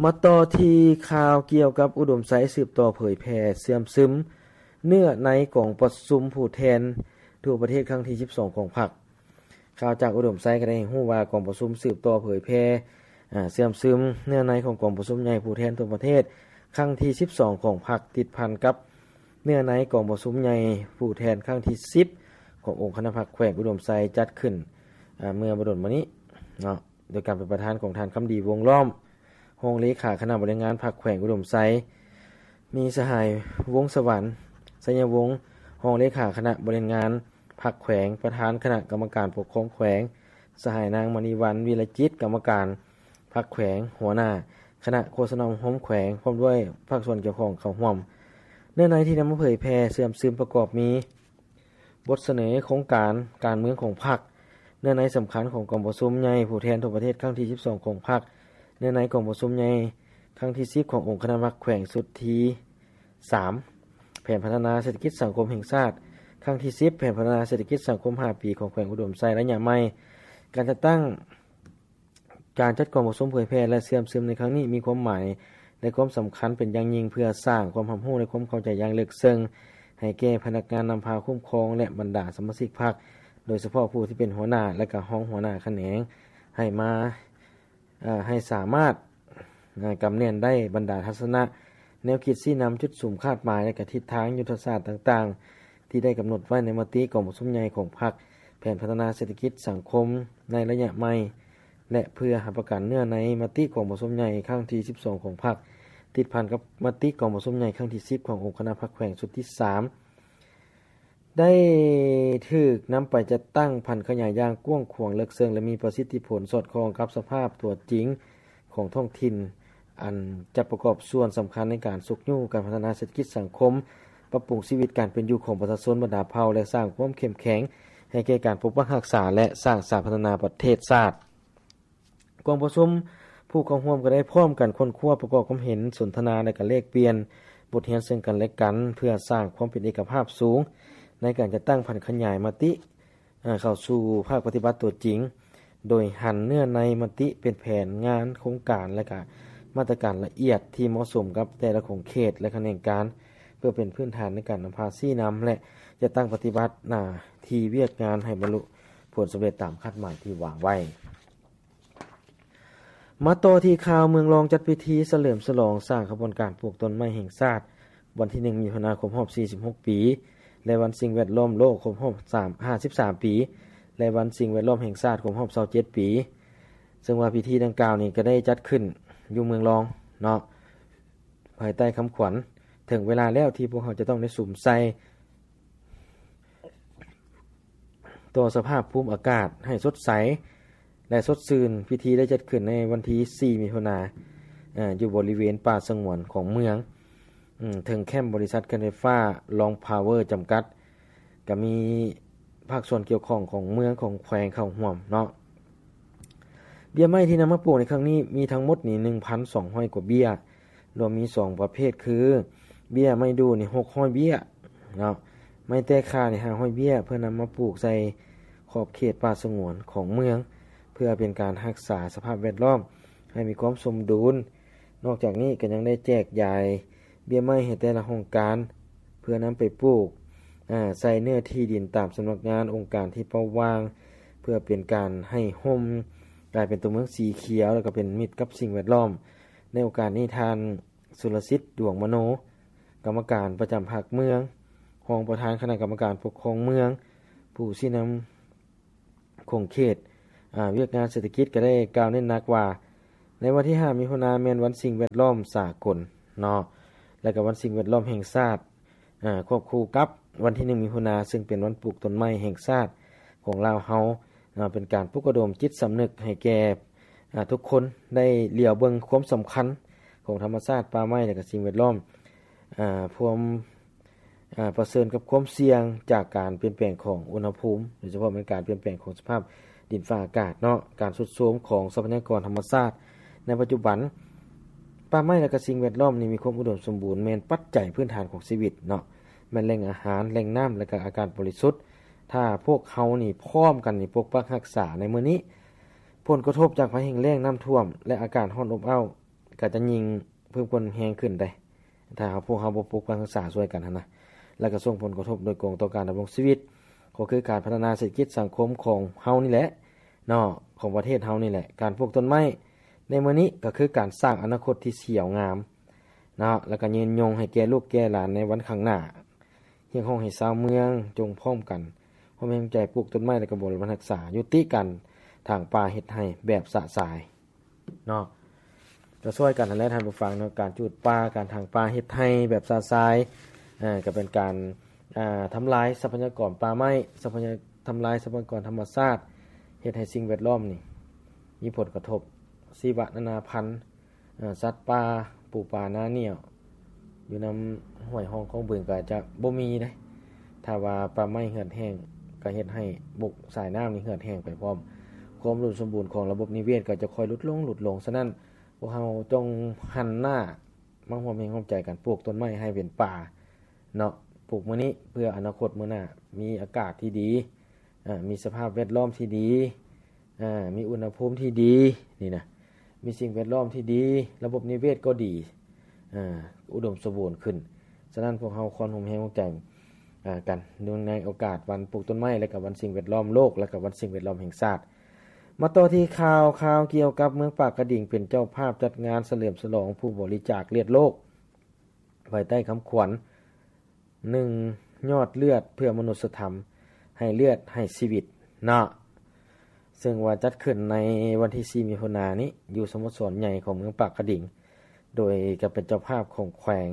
ມາຕໍ່ທີ່ຂ່າວກ່ຽວກັບອຸດົມໄຊ ສືບຕໍ່ເຜີຍແຜ່ເຊື່ອມຊຶມເນື້ອໃນກອງປະຊຸມຜູ້ແທນທົ່ວປະເທດຄັ້ງທີສິບສອງຂອງພັກ. ຂ່າວຈາກອຸດົມໄຊກໍໄດ້ໃຫ້ຮູ້ວ່າ ກອງປະຊຸມສືບຕໍ່ເຜີຍແຜ່ ເຊື່ອມຊຶມເນື້ອໃນຂອງກອງປະຊຸມໃຫຍ່ຜູ້ແທນທົ່ວປະເທດຄັ້ງທີສິບສອງຂອງພັກ ຕິດພັນກັບເນື້ອໃນກອງປະຊຸມໃຫຍ່ຜູ້ແທນຄັ້ງທີສິບຂອງອົງຄະນະພັກແຂວງອຸດົມໄຊ ຈັດຂຶ້ນເມື່ອບໍ່ດົນມານີ້ເນາະ ໂດຍການເປັນປະທານຂອງທ່ານ ຄຳດີ ວົງລ້ອມ ຮອງເລຂາຄະນະບໍລິຫານງານພັກແຂວງອຸດົມໄຊ, ມີສະຫາຍ ວົງສະຫວັນ ໄຊຍະວົງ ຮອງເລຂາຄະນະບໍລິຫານງານພັກແຂວງ, ປະທານຄະນະກຳມະການປົກຄອງແຂວງ, ສະຫາຍ ນາງ ມະນີວັນ ວິລະຈິດ ກຳມະການພັກແຂວງ, ຫົວໜ້າຄະນະໂຄສະນາອົບຮົມແຂວງ ພ້ອມດ້ວຍພາກສ່ວນກ່ຽວຂ້ອງເຂົ້າຮ່ວມ. ເນື້ອໃນທີ່ນຳມາເຜີຍແຜ່ເຊື່ອມຊຶມປະກອບມີ ບົດສະເໜີໂຄງການການເມືອງຂອງພັກ, ເນື້ອໃນສຳຄັນຂອງກອງປະຊຸມໃຫຍ່ຜູ້ແທນທົ່ວປະເທດຄັ້ງທີສິບສອງຂອງພັກ, ເນື້ອໃນກອງປະຊຸມໃຫຍ່ຄັ້ງທີສິບຂອງອົງຄະນະພັກແຂວງຊຸດທີສາມ, ແຜນພັດທະນາເສດຖະກິດສັງຄົມແຫ່ງຊາດຄັ້ງທີສິບ, ແຜນພັດທະນາເສດຖະກິດສັງຄົມຫ້າປີຂອງແຂວງອຸດົມໄຊໄລຍະໃໝ່. ການຈັດຕັ້ງ ການຈັດກອງປະຊຸມເຜີຍແຜ່ ແລະ ເຊື່ອມຊຶມໃນຄັ້ງນີ້ ມີຄວາມໝາຍ ແລະ ຄວາມສຳຄັນເປັນຢ່າງຍິ່ງ ເພື່ອສ້າງຄວາມຮັບຮູ້ ແລະ ຄວາມເຂົ້າໃຈຢ່າງເລິກເຊິ່ງໃຫ້ແກ່ພະນັກງານນຳພາຄຸ້ມຄອງ ແລະ ບັນດາສະມາຊິກພັກ, ໂດຍສະເພາະຜູ້ທີ່ເປັນຫົວໜ້າ ແລະ ກະຮອງຫົວໜ້າຂະແໜງ ໃຫ້ມາ ເອີ່ ໃຫ້ສາມາດ ເອີ່ ກຳແໜ້ນໄດ້ບັນດາທັດສະນະ, ແນວຄິດຊີ້ນຳ, ຈຸດສຸມຄາດໝາຍ ແລະ ກະທິດທາງຍຸດທະສາດຕ່າງໆ ທີ່ໄດ້ກຳນົດໄວ້ໃນມະຕິກອງປະຊຸມໃຫຍ່ຂອງພັກ, ແຜນພັດທະນາເສດຖະກິດສັງຄົມໃນໄລຍະໃໝ່ ແລະ ເພື່ອຮັບປະກັນເນື້ອໃນມະຕິກອງປະຊຸມໃຫຍ່ຄັ້ງທີສິບສອງຂອງພັກ, ຕິດພັນກັບມະຕິກອງປະຊຸມໃຫຍ່ຄັ້ງທີສິບຂອງອົງຄະນະພັກແຂວງຊຸດທີສາມ ໄດ້ຖືກນຳໄປຈັດຕັ້ງຜັນຂະຫຍາຍຢ່າງກວ້າງຂວາງເລິກເຊິ່ງ ແລະ ມີປະສິດທິຜົນສອດຄ່ອງກັບສະພາບຕົວຈິງຂອງທ້ອງຖິ່ນ, ອັນຈະປະກອບສ່ວນສຳຄັນໃນການຊຸກຍູ້ການພັດທະນາເສດຖະກິດສັງຄົມ, ປັບປຸງຊີວິດການເປັນຢູ່ຂອງປະຊາຊົນບັນດາເຜົ່າ ແລະ ສ້າງຄວາມເຂັ້ມແຂງໃຫ້ແກ່ການປົກປັກຮັກສາ ແລະ ສ້າງສາພັດທະນາປະເທດຊາດ. ກອງປະຊຸມ, ຜູ້ເຂົ້າຮ່ວມກໍໄດ້ພ້ອມກັນຄົ້ນຄວ້າ, ປະກອບຄວາມເຫັນ, ສົນທະນາ ແລະ ກະແລກປ່ຽນບົດຮຽນເຊິ່ງກັນ ແລະ ກັນ ເພື່ອສ້າງຄວາມເປັນເອກະພາບສູງໃນການຈັດຕັ້ງຜັນຂະຫຍາຍມະຕິ ເຂົ້າສູ່ພາກປະຕິບັດຕົວຈິງ, ໂດຍຫັນເນື້ອໃນມະຕິເປັນແຜນງານ, ໂຄງການ ແລະ ກະມາດຕະການລະອຽດທີ່ເໝາະສົມກັບແຕ່ລະຂົງເຂດ ແລະ ຂະແໜງການ ເພື່ອເປັນພື້ນຖານໃນການນຳພາຊີ້ນຳ ແລະ ຈັດຕັ້ງປະຕິບັດໜ້າທີ່ວຽກງານໃຫ້ບັນລຸຜົນສຳເລັດຕາມຄາດໝາຍທີ່ວາງໄວ້. ມາຕໍ່ທີ່ຂ່າວເມືອງລອງຈັດພິທີສະເຫຼີມສະຫຼອງສ້າງຂະບວນການປູກຕົ້ນໄມ້ແຫ່ງຊາດ ວັນທີໜຶ່ງ ມິຖຸນາ ຄົບຮອບສີ່ສິບຫົກປີ ແລະ ວັນສິ່ງແວດລ້ອມໂລກຄົບຮອບສາມ ຫ້າສິບສາມປີ ແລະ ວັນສິ່ງແວດລ້ອມແຫ່ງຊາດຄົບຮອບຊາວເຈັດປີ. ເຊິ່ງວ່າພິທີດັ່ງກ່າວນີ້ກໍໄດ້ຈັດຂຶ້ນຢູ່ເມືອງລອງເນາະ ພາຍໃຕ້ຄຳຂວັນ ເຖິງເວລາແລ້ວທີ່ພວກເຮົາຈະຕ້ອງໄດ້ສຸມໃສ່ ຕໍ່ສະພາບພູມອາກາດໃຫ້ສົດໃສ ແລະ ສົດຊື່ນ. ພິທີໄດ້ຈັດຂຶ້ນໃນວັນທີສີ່ ມິຖຸນາ ເອີ່ ຢູ່ບໍລິເວນປ່າສະຫງວນຂອງເມືອງ ເທິງແຄ້ມບໍລິສັດເຂື່ອນໄຟຟ້າ ລອງພາວເວີ ຈຳກັດ, ກະມີພາກສ່ວນກ່ຽວຂ້ອງຂອງເມືອງ ຂອງແຂວງເຂົ້າຮ່ວມເນາະ. ເບ້ຍໄມ້ທີ່ນຳມາປູກໃນຄັ້ງນີ້ມີທັງໝົດນີ້ ໜຶ່ງພັນສອງຮ້ອຍກວ່າເບ້ຍ, ລວມມີສອງປະເພດຄື ເບ້ຍໄມ້ດູ່ນີ້ ຫົກຮ້ອຍເບ້ຍເນາະ, ໄມ້ແຕກຂ້ານີ້ ຫ້າຮ້ອຍເບ້ຍ ເພື່ອນຳມາປູກໃສ່ຂອບເຂດປ່າສະຫງວນຂອງເມືອງ ເພື່ອເປັນການຮັກສາສະພາບແວດລ້ອມໃຫ້ມີຄວາມສົມດຸນ. ນອກຈາກນີ້ກໍຍັງໄດ້ແຈກຢາຍເບ້ຍໄມ້ໃຫ້ແຕ່ລະຫ້ອງການ ເພື່ອນຳໄປປູກ ອາ ໃສ່ເນື້ອທີ່ດິນຕາມສຳນັກງານ ອົງການທີ່ເປົ້າຫວ່າງ ເພື່ອເປັນການໃຫ້ຮົ່ມ ກາຍເປັນຕົວເມືອງສີຂຽວ ແລ້ວກໍເປັນມິດກັບສິ່ງແວດລ້ອມ. ໃນໂອກາດນີ້ ທ່ານ ສຸລະສິດ ດວງມະໂນ ກຳມະການປະຈຳພັກເມືອງ, ຮອງປະທານຄະນະກຳມະການປົກຄອງເມືອງ, ຜູ້ຊີ້ນຳຂົງເຂດ ອາ ວຽກງານເສດຖະກິດ ກໍໄດ້ກ່າວເນັ້ນໜັກວ່າ ໃນວັນທີຫ້າ ມິຖຸນາ ແມ່ນວັນສິ່ງແວດລ້ອມສາກົນເນາະ ແລະ ກໍວັນສິ່ງແວດລ້ອມແຫ່ງຊາດ ອາ ຄວບຄູ່ກັບວັນທີໜຶ່ງ ມິຖຸນາ ເຊິ່ງເປັນວັນປູກຕົ້ນໄມ້ແຫ່ງຊາດຂອງລາວເຮົາເນາະ, ເປັນການປຸກລະດົມຈິດສຳນຶກໃຫ້ແກ່ ອາ ທຸກຄົນໄດ້ຫຼຽວເບິ່ງຄວາມສຳຄັນຂອງທຳມະຊາດ, ປ່າໄມ້ ແລະ ກໍສິ່ງແວດລ້ອມ ອາ ພວມ ອາ ປະເຊີນກັບຄວາມສ່ຽງຈາກການປ່ຽນແປງຂອງອຸນຫະພູມ, ໂດຍສະເພາະແມ່ນການປ່ຽນແປງຂອງສະພາບດິນຟ້າອາກາດເນາະ, ການຊຸດໂຊມຂອງຊັບພະຍາກອນທຳມະຊາດໃນປັດຈຸບັນ. ປ່າໄມ້ ແລະ ກະສິ່ງແວດລ້ອມນີ້ມີຄວາມອຸດົມສົມບູນ, ແມ່ນປັດໄຈພື້ນຖານຂອງຊີວິດເນາະ, ແມ່ນແຫຼ່ງອາຫານ, ແຫຼ່ງນ້ຳ ແລະ ກະອາກາດບໍລິສຸດ. ຖ້າພວກເຮົານີ້ພ້ອມກັນນີ້ປົກປັກຮັກສາໃນມື້ນີ້, ຜົນກະທົບຈາກໄພແຫ້ງແລ້ງ, ນ້ຳຖ້ວມ ແລະ ອາກາດຮ້ອນອົບອ້າວ ກະຈະຍິ່ງເພີ່ມຄວາມແຮງຂຶ້ນໄດ໋ ຖ້າເຮົາ ພວກເຮົາບໍ່ປົກປັກຮັກສາຊ່ວຍກັນຫັ້ນນະ, ແລ້ວກໍສົ່ງຜົນກະທົບໂດຍກົງຕໍ່ການດຳລົງຊີວິດ, ກໍຄືການພັດທະນາເສດຖະກິດສັງຄົມຂອງເຮົານີ້ແຫຼະເນາະ, ຂອງປະເທດເຮົານີ້ແຫຼະ. ການປູກຕົ້ນໄມ້ໃນມື້ນີ້ກໍຄືການສ້າງອະນາຄົດທີ່ຂຽວງາມເນາະ, ແລ້ວກໍຍືນຍົງໃຫ້ແກ່ລູກແກ່ຫຼານໃນວັນຂ້າງໜ້າ. ຮຽກຮ້ອງໃຫ້ຊາວເມືອງຈົ່ງພ້ອມກັນຮ່ວມແຮງໃຈປູກຕົ້ນໄມ້ ແລະ ກໍບໍລິການຮັກສາ, ຍຸຕິການຖາງປ່າເຮັດໄຮ່ແບບຊະຊາຍ ເນາະ, ກໍຊ່ວຍກັນຫັ້ນແຫຼະທ່ານຜູ້ຟັງເນາະ. ການຈູດປ່າ, ການຖາງປ່າເຮັດໄຮ່ແບບຊະຊາຍ ເອີ ກໍເປັນການ ອາ ທຳລາຍຊັບພະຍາກອນປ່າໄມ້, ຊັບພະຍາ ທຳລາຍຊັບພະຍາກອນທຳມະຊາດ, ເຮັດໃຫ້ສິ່ງແວດລ້ອມນີ້ມີຜົນກະທົບ, ຊີວະນານາພັນ ເອີ ສັດປ່າ, ປູປາ, ໜ້າໜຽວ ຢູ່ນຳຫ້ວຍຮ່ອງຂອງບຶງກໍອາດຈະບໍ່ມີເດ້ ຖ້າວ່າປ່າໄມ້ເຫືອດແຫ້ງ ກໍເຮັດໃຫ້ບົກສາຍນ້ຳນີ້ເຫືອດແຫ້ງໄປພ້ອມ. ຄວາມອຸດົມສົມບູນຂອງລະບົບນິເວດກໍຈະຄ່ອຍຫຼຸດລົງ, ຫຼຸດລົງ. ສະນັ້ນ, ພວກເຮົາຈົ່ງຫັນໜ້າມາຮ່ວມແຮງຮ່ວມໃຈກັນປູກຕົ້ນໄມ້ໃຫ້ເປັນປ່າເນາະ, ປູກມື້ນີ້ເພື່ອອະນາຄົດມື້ໜ້າ, ມີອາກາດທີ່ດີ, ເອີ ມີສະພາບແວດລ້ອມທີ່ດີ, ເອີ ມີອຸນຫະພູມທີ່ດີ, ນີ້ນະ, ມີສິ່ງແວດລ້ອມທີ່ດີ, ລະບົບນິເວດກໍດີ, ເອີ ອຸດົມສົມບູນຂຶ້ນ. ສະນັ້ນ, ພວກເຮົາຄວນຮ່ວມແຮງຮ່ວມໃຈ ເອີ ກັນ ເນື່ອງໃນໂອກາດວັນປູກຕົ້ນໄມ້ ແລະ ກະວັນສິ່ງແວດລ້ອມໂລກ ແລະ ກະວັນສິ່ງແວດລ້ອມແຫ່ງຊາດ. ມາຕໍ່ທີ່ຂ່າວ, ຂ່າວກ່ຽວກັບເມືອງປາກກະດິງເປັນເຈົ້າພາບຈັດງານສະເຫຼີມສະຫຼອງຜູ້ບໍລິຈາກເລືອດໂລກ ພາຍໃຕ້ຄຳຂວັນ ໜຶ່ງ ຍອດເລືອດເພື່ອມະນຸດສະທຳ, ໃຫ້ເລືອດໃຫ້ຊີວິດເນາະ, ເຊິ່ງວ່າຈັດຂຶ້ນໃນວັນທີສີ່ ມິຖຸນານີ້ ຢູ່ສະໂມສອນໃຫຍ່ຂອງເມືອງປາກກະດິງ, ໂດຍກະເປັນເຈົ້າພາບຂອງແຂວງ,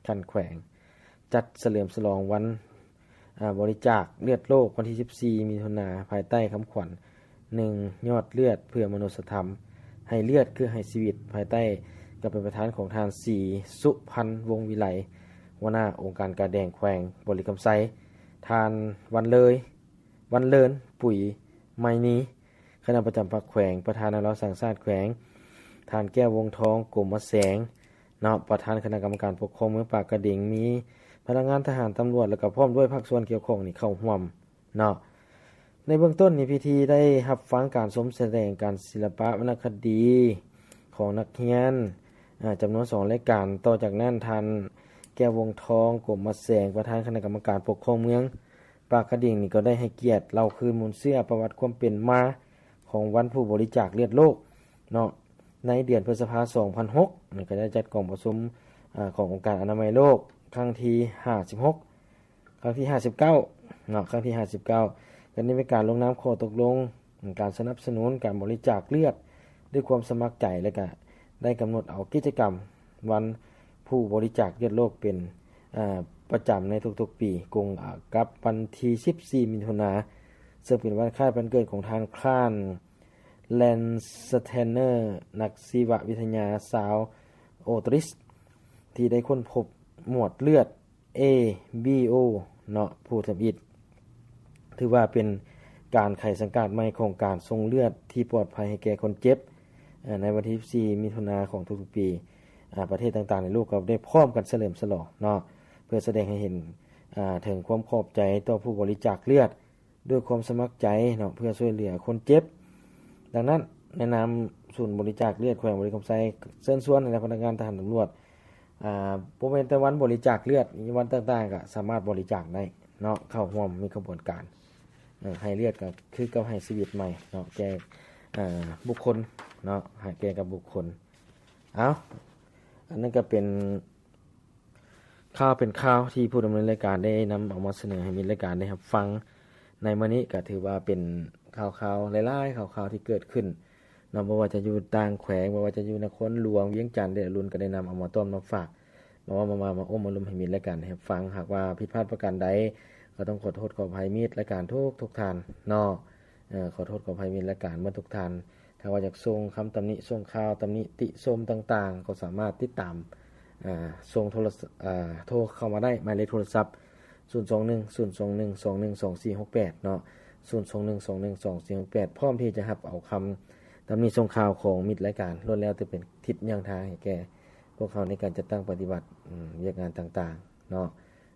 ຂັ້ນແຂວງ, ຈັດສະເຫຼີມສະຫຼອງວັນ, ອາ, ບໍລິຈາກເລືອດໂລກ ວັນທີສິບສີ່ ມິຖຸນາ, ພາຍໃຕ້ຄຳຂວັນ ໜຶ່ງ ຍອດເລືອດເພື່ອມະນຸດສະທຳ, ໃຫ້ເລືອດຄືໃຫ້ຊີວິດ, ພາຍໃຕ້ການເປັນປະທານຂອງທ່ານ ສີສຸພັນ ວົງວິໄລ, ຫົວໜ້າອົງການກາແດງແຂວງບໍລິຄຳໄຊ, ທ່ານ ວັນເລີຍ, ວັນເລີນ ປຸຍໄມນີ, ຄະນະປະຈຳພັກແຂວງ, ປະທານນາລາວສ້າງຊາດແຂວງ, ທ່ານ ແກ້ວ ວົງທອງ ກົມມະແສງ ເນາະ, ປະທານຄະນະກຳມະການປົກຄອງເມືອງປາກກະດິງ, ມີພະນັກງານທະຫານ, ຕຳຫຼວດ ແລະ ກະພ້ອມດ້ວຍພາກສ່ວນກ່ຽວຂ້ອງນີ້ເຂົ້າຮ່ວມເນາະ. ໃນເບື້ອງຕົ້ນນີ້ ພິທີໄດ້ຮັບຟັງການຊົມສະແດງການສິລະປະວັນນະຄະດີຂອງນັກຮຽນ, ອາ, ຈຳນວນສອງລາຍການ. ຕໍ່ຈາກນັ້ນ, ທ່ານ ແກ້ວ ວົງທອງ ກົມມະແສງ, ປະທານຄະນະກຳມະການປົກຄອງເມືອງປາກກະດິງນີ້ ກໍໄດ້ໃຫ້ກຽດເລົ່າຄືນມູນເຊື້ອປະຫວັດຄວາມເປັນມາຂອງວັນຜູ້ບໍລິຈາກເລືອດໂລກເນາະ. ໃນເດືອນພຶດສະພາ ສອງພັນຫົກ ນີ້ກໍໄດ້ຈັດກອງປະຊຸມ, ອາ, ຂອງອົງການອະນາໄມໂລກຄັ້ງທີຫ້າສິບຫົກ, ຄັ້ງທີຫ້າສິບເກົ້າເນາະ, ຄັ້ງທີຫ້າສິບເກົ້າ ກໍໄດ້ມີການລົງນາມຂໍ້ຕົກລົງການສະໜັບສະໜູນການບໍລິຈາກເລືອດດ້ວຍຄວາມສະໝັກໃຈ ແລະ ກະໄດ້ກຳນົດເອົາກິດຈະກຳວັນຜູ້ບໍລິຈາກເລືອດໂລກເປັນ, ອາ, ປະຈຳໃນທຸກໆປີ ກົງກັບວັນທີສິບສີ່ ມິຖຸນາ ເຊິ່ງເປັນວັນຄ້າຍວັນເກີດຂອງທ່ານ ຄານ ແລນສະແຕນເນີ ນັກຊີວະວິທະຍາຊາວອົດຕຣິສ ທີ່ໄດ້ຄົ້ນພົບໝວດເລືອດ ເອ ບີ ໂອ ເນາະ ຜູ້ທຳອິດ. ຖືວ່າເປັນການໄຂສັງກາດໃໝ່ຂອງການສົ່ງເລືອດທີ່ປອດໄພໃຫ້ແກ່ຄົນເຈັບ, ເອີ, ໃນວັນທີສິບສີ່ ມິຖຸນາຂອງທຸກໆປີ, ອາ, ປະເທດຕ່າງໆໃນໂລກກໍໄດ້ພ້ອມກັນສະເຫຼີມສະຫຼອງເນາະ ເພື່ອສະແດງໃຫ້ເຫັນ, ອາ, ເຖິງຄວາມຂອບໃຈຕໍ່ຜູ້ບໍລິຈາກເລືອດ ດ້ວຍຄວາມສະໝັກໃຈເນາະ ເພື່ອຊ່ວຍເຫຼືອຄົນເຈັບ. ດັ່ງນັ້ນ, ໃນນາມສູນບໍລິຈາກເລືອດແຂວງບໍລິຄຳໄຊ ເຊີນຊວນໃຫ້ພະນັກງານທະຫານ, ຕຳຫຼວດ, ອາ, ບໍ່ແມ່ນແຕ່ວັນບໍລິຈາກເລືອດ, ວັນຕ່າງໆກໍສາມາດບໍລິຈາກໄດ້ເນາະ, ເຂົ້າຮ່ວມມີຂະບວນການ, ເອີ, ໃຫ້ເລືອດກໍຄືກັບໃຫ້ຊີວິດໃໝ່ເນາະ ແກ່, ອາ, ບຸກຄົນເນາະ, ໃຫ້ແກ່ກັບບຸກຄົນ. ເອົ້າ, ອັນນັ້ນກໍເປັນ ຂ່າວເປັນຂ່າວທີ່ຜູ້ດຳເນີນລາຍການໄດ້ນຳເອົາມາສະເໜີໃຫ້ມິດລາຍການໄດ້ຮັບຟັງໃນມື້ນີ້, ກໍຖືວ່າເປັນຂ່າວໆ ຫຼາຍໆ ຂ່າວໆທີ່ເກີດຂຶ້ນເນາະ, ບໍ່ວ່າຈະຢູ່ຕ່າງແຂວງ, ບໍ່ວ່າຈະຢູ່ນະຄອນຫຼວງວຽງຈັນ ແລະ ລຸນກໍໄດ້ນຳເອົາມາຕ້ອນມາຝາກ, ມາເວົ້າ, ມາ, ມາ, ມາອົບມາລົມໃຫ້ມິດລາຍການໄດ້ຮັບຟັງ. ຫາກວ່າຜິດພາດປະການໃດ ກໍຕ້ອງຂໍໂທດຂໍອະໄພມິດລາຍການທຸກ, ທຸກທ່ານເນາະ. ເອີ, ຂໍໂທດຂໍອະໄພມິດລາຍການເບິດທຸກທ່ານ. ຖ້າວ່າຢາກສົ່ງຄຳຕຳໜິ, ສົ່ງຂ່າວຕຳໜິຕິຊົມຕ່າງໆ ກໍສາມາດຕິດຕາມ, ເອີ, ສົ່ງໂທລະ, ເອີ, ໂທເຂົ້າມາໄດ້ ໝາຍເລກໂທລະສັບ ສູນສອງໜຶ່ງ ສູນສອງໜຶ່ງ ສອງໜຶ່ງ ສອງສີ່ຫົກແປດ ເນາະ, ສູນສອງໜຶ່ງ ສອງໜຶ່ງ ສອງສີ່ຫົກແປດ ພ້ອມທີ່ຈະຮັບເອົາຄຳຕຳໜິຊົງຂ່າວຂອງມິດລາຍການ ລ້ວນແລ້ວແຕ່ເປັນທິດຍ່າງທາງໃຫ້ແກ່ພວກເຮົາໃນການຈັດຕັ້ງປະຕິບັດ, ອາ, ວຽກງານຕ່າງໆ ເນາະ,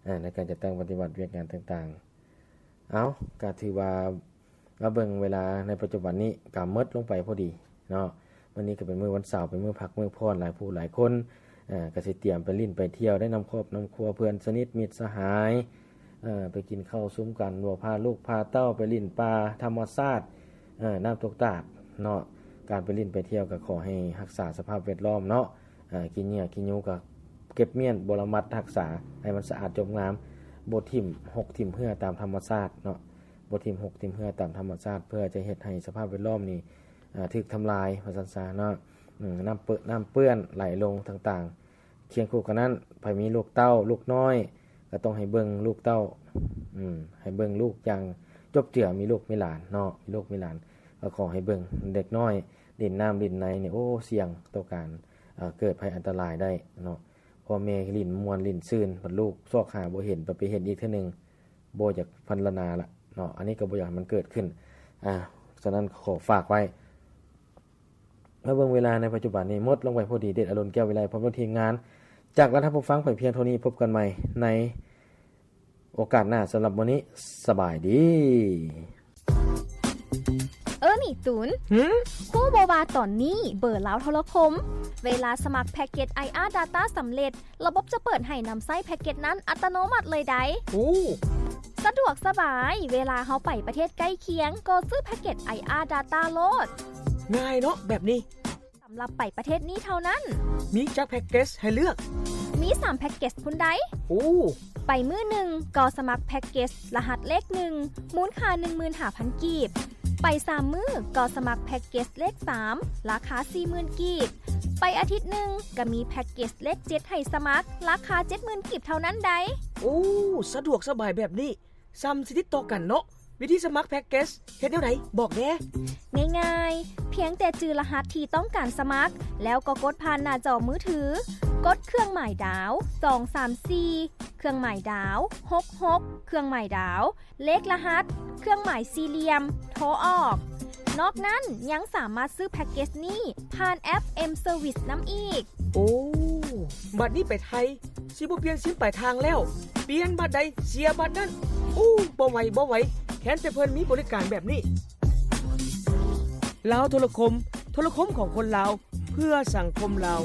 ອາ, ໃນການຈັດຕັ້ງປະຕິບັດວຽກງານຕ່າງໆ. ເອົ້າ, ກໍຖືວ່າມາເບິ່ງເວລາໃນປັດຈຸບັນນີ້ກໍໝົດລົງໄປພໍດີເນາະ. ມື້ນີ້ກໍເປັນມື້ວັນເສົາ, ເປັນມື້ພັກມື້ຜ່ອນ, ຫຼາຍຜູ້ຫຼາຍຄົນ, ເອີ, ກໍຊິຕຽມໄປຫຼິ້ນໄປທ່ຽວ ໄດ້ນຳຄອບນຳຄົວ, ເພື່ອນສະໜິດ, ມິດສະຫາຍ, ເອີ, ໄປກິນເຂົ້າຊຸມກັນ, ບໍ່ພາລູກພາເຕົ້າໄປຫຼິ້ນປ່າທຳມະຊາດ, ເອີ, ນ້ຳຕົກຕາດເນາະ. ການໄປຫຼິ້ນໄປທ່ຽວກໍຂໍໃຫ້ຮັກສາສະພາບແວດລ້ອມເນາະ. ອາ, ຂີ້ເຫຍື້ອຂີ້ຫຍູ້ກໍເກັບມ້ຽນ, ບໍ່ລະມັດຮັກສາໃຫ້ມັນສະອາດຈົບງາມ, ບໍ່ຖິ້ມຫົກຖິ້ມເຫື່ອຕາມທຳມະຊາດເນາະ, ບໍ່ຖິ້ມຫົກຖິ້ມເຫື່ອຕາມທຳມະຊາດ ເພື່ອຈະເຮັດໃຫ້ສະພາບແວດລ້ອມນີ້, ອາ, ຖືກທຳລາຍວ່າຊັ້ນຊະເນາະ. ອາ, ນ້ຳເປື້ອນ, ນ້ຳເປື້ອນໄຫຼລົງຕ່າງໆ. ຄຽງຄູ່ກັນນັ້ນ, ໃຜມີລູກເຕົ້າ, ລູກນ້ອຍ, ກໍຕ້ອງໃຫ້ເບິ່ງລູກເຕົ້າ, ອາ, ໃຫ້ເບິ່ງລູກຢ່າງຈົບເຈືອ, ມີລູກມີຫຼານເນາະ, ມີລູກມີຫຼານ, ກໍຂໍໃຫ້ເບິ່ງເດັກນ້ອຍ, ຫຼິ້ນນ້ຳຫຼິ້ນໃນນີ້, ໂອ້, ສ່ຽງຕໍ່ການ, ເກີດໄພອັນຕະລາຍໄດ້ເນາະ. ພໍ່ແມ່ຫຼິ້ນມ່ວນຫຼິ້ນຊື່ນ, ບັດລູກຊອກຫາບໍ່ເຫັນ, ບັດໄປເຫັນອີກເທື່ອໜຶ່ງ, ບໍ່ຢາກພັນລະນາລະ ເນາະ ອັນນີ້ກໍບໍ່ຢາກໃຫ້ມັນເກີດຂຶ້ນ. ອາ ສະນັ້ນຂໍຝາກໄວ້. ມາເບິ່ງເວລາໃນປັດຈຸບັນນີ້ ໝົດລົງໄປພໍດີ. ເດດອະລຸນ ແກ້ວວິໄລ ພ້ອມດ້ວຍທີມງານ ຈາກລັດທ່ານຜູ້ຟັງໄປພຽງເທົ່ານີ້. ພົບກັນໃໝ່ໃນໂອກາດໜ້າ. ສຳລັບມື້ນີ້ ສະບາຍດີ. ເອີ ນີ້ຕູນ ຫື? ຮູ້ບໍ່ວ່າຕອນນີ້ເບີລາວໂທລະຄົມ ເວລາສະໝັກແພັກເກັດ ໄອອາ Data ສຳເລັດ ລະບົບຈະເປີດໃຫ້ນຳໃຊ້ແພັກເກັດນັ້ນອັດຕະໂນມັດເລີຍໃດ໋. ໂອ້ ສະດວກສະບາຍ, ເວລາເຮົາໄປປະເທດໃກ້ຄຽງ ກໍຊື້ແພັກເກັດ ໄອອາ Data ໂລດ. ງ່າຍເນາະແບບນີ້. ສຳລັບໄປປະເທດນີ້ເທົ່ານັ້ນ. ມີຈັກແພັກເກັດໃຫ້ເລືອກ? ມີສາມແພັກເກັດພຸ້ນໃດ໋. ໂອ້ ໄປມື້ໜຶ່ງກໍສະໝັກແພັກເກັດລະຫັດເລກໜຶ່ງ ມູນຄ່າໜຶ່ງໝື່ນຫ້າພັນກີບ. ໄປສາມມື້ກໍສະໝັກແພັກເກັດເລກສາມ ລາຄາສີ່ໝື່ນກີບ. ໄປອາທິດໜຶ່ງກໍມີແພັກເກັດເລກເຈັດໃຫ້ສະໝັກ ລາຄາເຈັດໝື່ນກີບເທົ່ານັ້ນໃດ໋. ໂອ້ ສະດວກສະບາຍແບບນີ້ ສ່ຳຊິຕິດຕໍ່ກັນເນາະ. ວິທີສະໝັກແພັກເກັດເຮັດແນວໃດ? ບອກແດ່. ງ່າຍໆ, ພຽງແຕ່ຈື່ລະຫັດທີ່ຕ້ອງການສະໝັກ ແລ້ວກໍກົດຜ່ານໜ້າຈໍມືຖື, ກົດເຄື່ອງໝາຍດາວ ສອງສາມສີ່ ເຄື່ອງໝາຍດາວ ຫົກຫົກ ເຄື່ອງໝາຍດາວ ເລກລະຫັດ ເຄື່ອງໝາຍສີ່ຫຼ່ຽມ ໂທອອກ. ນອກນັ້ນຍັງສາມາດຊື້ແພັກເກັດນີ້ຜ່ານແອັບ M Service ນຳອີກ. ໂອ້ ບັດນີ້ໄປໄທ ຊິບໍ່ປ່ຽນຊິມປາຍທາງແລ້ວ, ປ່ຽນບັດໃດເສຍບັດນັ້ນ. ໂອ້ ບໍ່ໄຫວ ບໍ່ໄຫວ, ແຄ້ນແຕ່ເພິ່ນມີບໍລິການແບບນີ້. ລາວໂທລະຄົມ, ໂທລະຄົມຂອງຄົນລາວ ເພື່ອສັງຄົມລາວ.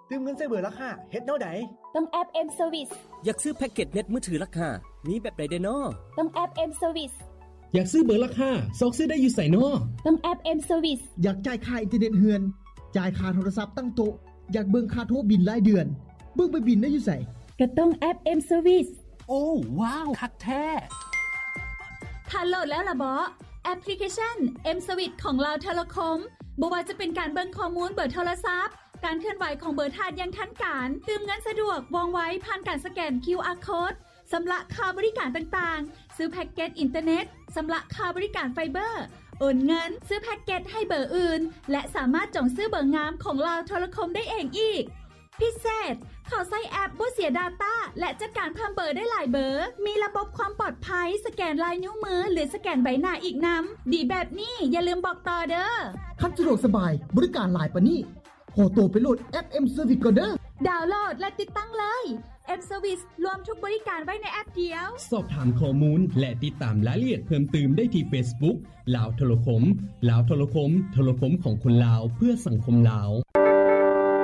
ຕື່ມເງິນໃສ່ເບີລາຄາ ເຮັດແນວໃດ? ຕ້ອງແອັບ M Service. ຢາກຊື້ແພັກເກັດເນັດມືຖືລາຄາ ມີແບບໃດແດ່ນໍ? ຕ້ອງແອັບ M Service. ຢາກຊື້ເບີລາຄາ ຊອກຊື້ໄດ້ຢູ່ໃສນໍ? ຕ້ອງແອັບ M Service. ຢາກຈ່າຍຄ່າອິນເຕີເນັດເຮືອນ, ຈ່າຍຄ່າໂທລະສັບຕັ້ງໂຕະ, ຢາກເບິ່ງຄ່າໂທບິນລາຍເດືອນ, ເບິ່ງໃບບິນໄດ້ຢູ່ໃສ? ກໍຕ້ອງແອັບ M Service. ໂອ້ ວ້າວ ຄັກແທ້! ທ່ານໂຫຼດແລ້ວລະເບາະ ແອັບພລິເຄຊັນ M Service ຂອງລາວໂທລະຄົມ? ບໍ່ວ່າຈະເປັນການເບິ່ງຂໍ້ມູນເບີໂທລະສັບ, ການເຄື່ອນໄຫວຂອງເບີທ່ານຢ່າງທັນການ, ຕື່ມເງິນສະດວກ ວ່ອງໄວ ຜ່ານການສະແກນ ຄິວອາ ໂຄດ, ຊຳລະຄ່າບໍລິການຕ່າງໆ, ຊື້ແພັກເກັດອິນເຕີເນັດ, ຊຳລະຄ່າບໍລິການໄຟເບີ, ໂອນເງິນ, ຊື້ແພັກເກັດໃຫ້ເບີອື່ນ ແລະ ສາມາດຈອງຊື້ເບີງາມຂອງລາວໂທລະຄົມໄດ້ເອງອີກ. ພິເສດ, ເຂົ້າໃຊ້ແອັບບໍ່ເສຍດາຕ້າ ແລະ ຈັດການເພີ່ມເບີໄດ້ຫຼາຍເບີ, ມີລະບົບຄວາມປອດໄພ ສະແກນລາຍນິ້ວມື ຫຼື ສະແກນໃບໜ້າອີກນຳ. ດີແບບນີ້ ຢ່າລືມບອກຕໍ່ເດີ້. ຄັນສະດວກສະບາຍ, ບໍລິການຫຼາຍປານນີ້, ຂໍໂຕໄປໂຫຼດແອັບ M Service ກ່ອນເດີ້. ດາວໂຫຼດ ແລະ ຕິດຕັ້ງເລີຍ. M Service ລວມທຸກບໍລິການໄວ້ໃນແອັບດຽວ. ສອບຖາມຂໍ້ມູນ ແລະ ຕິດຕາມລາຍລະອຽດເພີ່ມຕື່ມໄດ້ທີ່ Facebook ລາວໂທລະຄົມ, ລາວໂທລະຄົມ, ໂທລະຄົມຂອງຄົນລາວ ເພື່ອສັງຄົມລາວ.